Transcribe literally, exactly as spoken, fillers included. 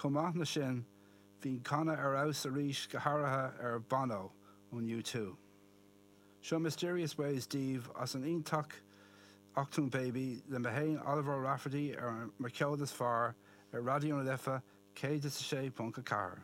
Chomh maith leis sin, bhí canadh ar fheabhas arís go háirithe ar Bono ón U two. Seo Mysterious Ways daoibh as an iontach Achtung Baby le mé féin Oliver Rafferty ar Mo Cheol is Fearr ar Raidió na Life céad is a sé ponc a ceathair.